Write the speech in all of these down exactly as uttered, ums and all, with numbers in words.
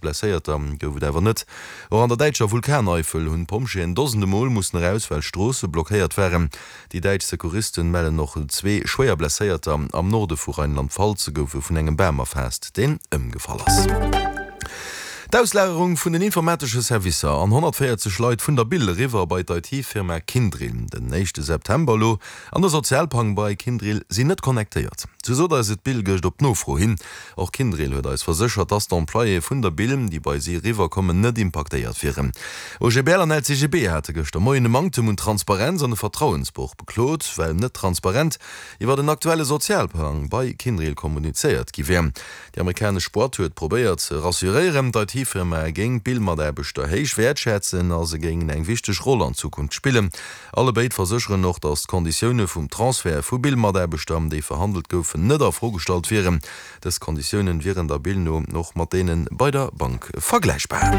Blesséierter gouf et awer net. Och an der däitscher Vulkaneifel hunn d'Pompjeeën dosende Mol mussen eraus, well Stroosse blockéiert waren. Déi däitsch Secouristen mellen och zwee schwéier Blesséierter. Am Norde vu Rheinland-Pfalz gouf e vun engem Bam erfaasst, deen ëmgefall ass. D'Auslagerung vun den informatesche Servicer an honnertvéierzeg Leit vun der Bil eriwwer bei d'IT-Firma Kyndryl den éischte September elo an de Sozialpang bei Kyndryl sinn net connectéiert. Sou sot eis et d'Bill gëscht op Nofro hin. Och Kyndryl huet eis verséchert, dass d'Employéë vun der Bill, déi bei si eriwwer kommen, net impaktéiert wieren. OGBL an LCGB hate gëschter Moien e Manktem un Transparenz an e Vertrauensbroch beklot, well net transparent iwwer den aktuelle Sozialplang bei Kyndryl kommunizéiert gi wär. Déi amerikanesch Boîte huet probéiert ze rassuréieren, d'IT-Firma géing d'Bill-Mataarbechter héich wäertschätzen a se géingen eng wichteg Roll an Zukunft spillen. Allebéid versécheren och, datt d'Konditioune vum Transfert vu Bill-Mataarbechter, déi verhandelt goufen, net a Fro gestallt wieren. Dës Konditiounen wieren der Bill no och mat deene bei der Bank vergläichbar.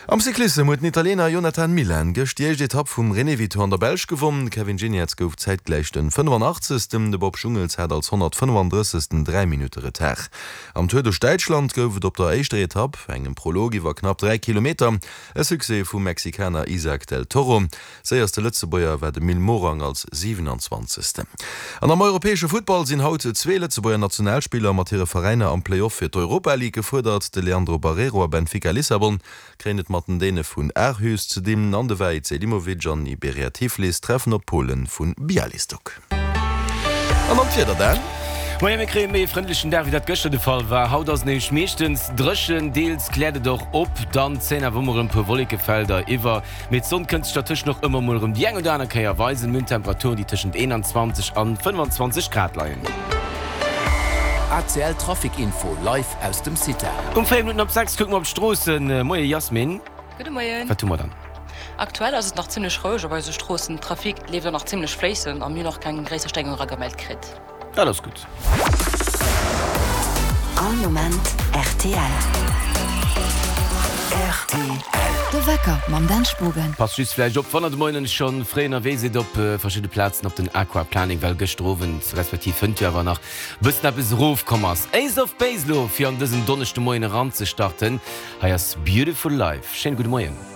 Am Cyclissem huet den Italiener Jonathan Milan gëscht déi éischt Etapp vum Renewi-Tour an der Belsch gewonn. De Kevin Geniets gouf zäitgläich den fënnefanachtzegstem De Bob Jungels hat als honnertfënnefandrëssegsten dräi Minutte Retard. Am Tour duerch Däitschland gouf et op der éischter Etapp, engem Prolog iwwer knapp dräi Kilometer, e Succès vum Mexikaner Isaac del Toro. Séierste Lëtzebuerger war de Mil Morang als siwenanzwanzegsten. An am europäesche Futtball sinn haut zwee Lëtzebuerger Nationalspiller mat hire Veräiner am Play-Off fir d'Europa League gefuerdert. De Leandro Barreiro a Benfica Lissabon kréien et mat den Däne vun Aarhus ze dinn an de Vahid Selimovic an Iberia Tiflis treffen op d'Pole vu Bialystok. An dann d'Wieder, Dan. Moien, mir kréie méi e frëndlechen Dag wéi dat gëschter de Fall war. Haut ass et nämlech meeschtens dréchen, deels kläert et och op, dann zéien awer ëmmer erëm e puer Wollekefelder iwwer, mee d'Sonn kënnt sech dertëscht och ëmmer mol erëm déi eng oder aner Kéier weisen. Mir hunn Temperaturen, déi tëschent eenanzwanzeg an fënnfanzwanzeg Grad leien. A C L Trafic Info live aus dem CITAR. Um véier Minutten op sechs kucke mer op d'Stroossen. Moie Yasmin. Gudde Moien. Wat hu mer dann? Aktuell ass et nach zimmlech roueg op eise Stroossen. Trafic leeft och nach zimmlech fléissend a mir hunn och keng gréisser Stéierung eragemellt kritt. Dat ass gutt. All Moment rtl. Rtl. De Wecker mam Dan Spogen. Passt just vläicht op, wann der de Moien schonn fréi ënnerwee sidd op verschidde Plazen op den Aquaplaning, well gëschter Owend, respektiv hënt jo awer nach bëssen eppes erofkomm ass. Ace of Base lo fir an dësen Donneschdemoien eranzestarten. Hei ass Beautiful Life. Schéine gudde Moien.